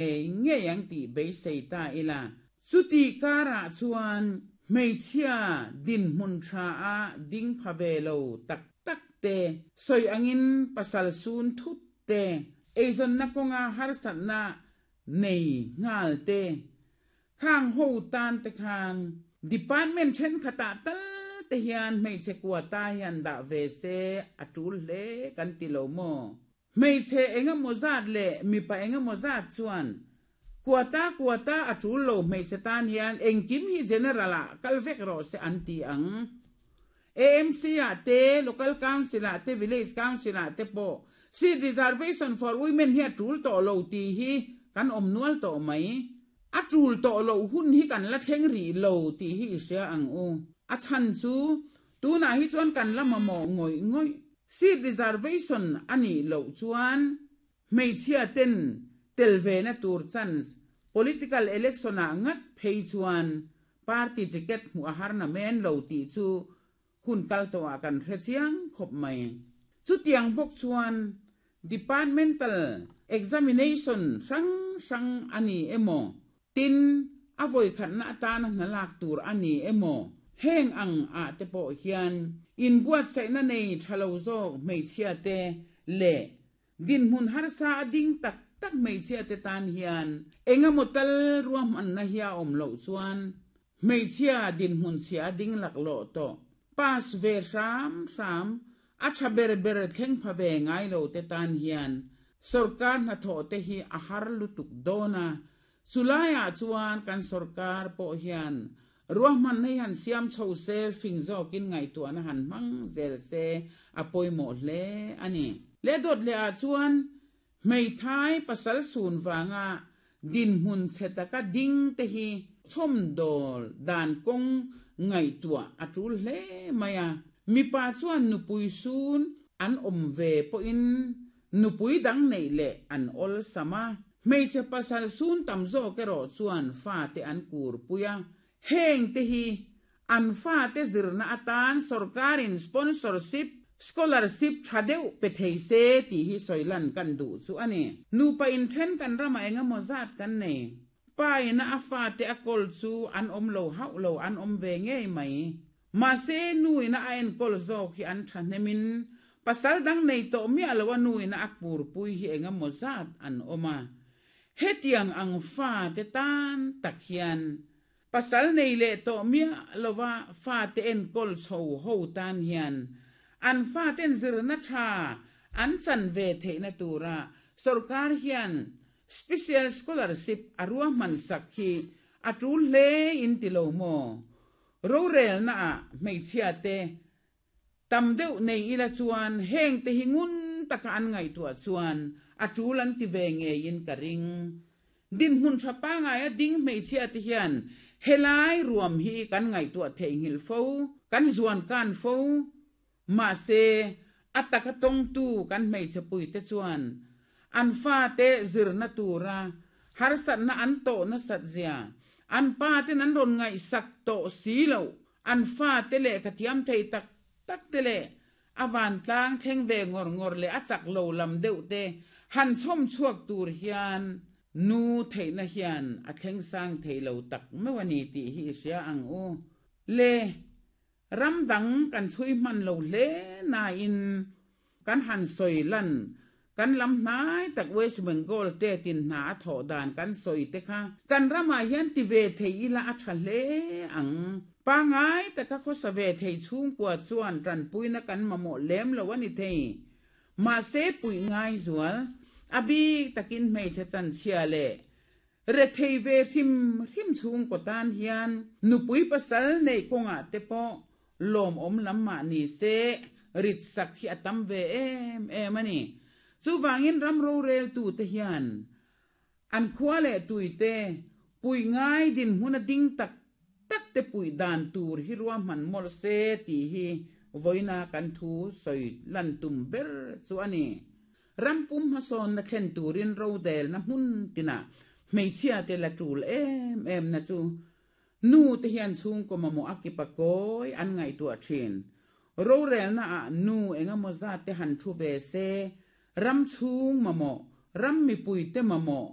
Ngei ngei ang tih beisei ta ila. Chutih karah chuan hmeichhia dinhmun tha a ding pha ve lo tak tak te, sawi angin pasal sun thut te, eizawnna kawnga harsatna nei nghal te, khang ho tan te khan department thenkhatah tal te hian hmeichhe quota hian dah ve se a tul hle kan ti lo maw? Hmeichhe engemaw zat leh mipa engemaw zat chuan quota quota a tul lo hmeichhe tan hian engkim hi general ah kal vek rawh se an ti ang. AMC ah te, Local Council ah te, Village Council ah te pawh seat reservation for women hi a tul tawh lo tih hi kan awm nual tawh mai. A tul tawh loh hun hi kan la thleng rih lo tih hi i hria ang u. A chhan chu Tunah hi chuan kan la mamawh ngawih ngawih. Seat reservation a nih loh chuan hmeichhia ten tel ve na tur chance political election ah ngat phei chuan party ticket hmuh a har na men lo tih chu hun kal tawh ah kan hre chiang khawp mai. Chutiang bawk chuan departmental examination hrang hrang a ni emaw Tin, a vawikhatna atana hna lak tur a ni emaw, heng ang ah te pawh hian inbuatsaihna nei tha lo zawk hmeichhia te leh dinhmun harsa a ding tak tak hmeichhia te tan hian engemaw tal ruahmanna hi a awm loh chuan hmeichhia dinhmun chhia a ding laklawh tawh pass ve hram hram A tha ber ber thleng pha ve ngai lo te tan hian sorkar hnathawh te hi a har lutuk dawn a, chulaiah chuan kan sorkar pawh hian ruahmanna hi han siam chho se, fing zawkin ngaihtuahna han hmang zel se a pawimawh hle a ni. Leh dawt leh ah chuan hmeithai pasal sun vanga dinhmun chhe taka ding te hi chhawmdawl dan kawng ngaihtuah a tul hle mai a. Mipa chuan nupui sun an awm ve pawhin nupui dang neih leh an awlsam a, hmeichhe pasal sun tam zawk erawh chuan fate an kurpui a, heng te hi An fate zirna atan sorkarin sponsorship, scholarship tha deuh pe thei se tih hi sawi lan kan duh chu a ni. Nupa inthen kan ramah engemaw zat kan nei. Pa ina a fate a kawl chu an awm lo hauh lo, an awm ve ngei mai. Mahse, nu ina a enkawl zawk hi an thahnemin pasal dang nei tawh miah lo a nu ina a kurpui hi engemaw zat an awm a. Hetiang ang fate tan tak hian Pasal nei leh tawh miah lova fate enkawl chho ho tan hian an faten zirna tha an chan ve theihna tura sorkar hian special scholarship a ruahman sak hi a tul hle in ti lo maw? Rorelna ah hmeichhia te Tam deuh nei ila chuan heng te hi ngun taka an ngaihtuah chuan a tul an ti ve ngeiin ka ring. Dinhmun tha pangaia ding hmeichhia te hian helai ruam hi kan ngaihtuah theihnghilh fo, kan zuan kan fo. Mahse, a taka tawngtu kan hmeichhe puite chuan an fate zirna tura harsatna an tawh nasat zia an pa ten an rawn ngaihsak tawh si loh An fate lehkha thiam thei tak tak te leh a vantlang thleng ve ngawr ngawr leh a chak lo lam deuh te han chhawm chhuak tur hian nu theihna hian a thleng sang thei lo tak meuh a ni tih hi i hria ang u. Le ram dang kan chhui hman lo hle nain Kan han sawi lan, kan lam hnai tak West Bengal te tin hna a thawh dan kan sawi te kha kan ramah hian ti ve thei ila a tha hle ang. Pangai taka khawsa ve thei chhungkua chuan tanpuina kan mamawh lem lo a ni thei. Mahse puih ngai zual, a bik takin hmeichhe chanchhia leh Rethei ve hrim hrim chhungkaw tan hian nupui pasal neih kawngah te pawh lawmawm lam mah ni se rit sak hi a tam ve em em a ni. Chuvangin ram roreltute hian an khua leh tuite puih ngai dinhmun a ding tak tak te puih dan tur hi ruahman mawlh se tih hi vawiina kan thu sawi lan tum ber chu a ni. Ram pum hmasawnna thlen turin rodelna hmun tinah hmeichhia te la tul em em na chu nu te hian chhungkaw mamawh a kipa kawi an ngaihtuah thin. Rorelna ah nu engemaw zat te han thu ve se, ram chhung mamawh, ram mipui te mamawh.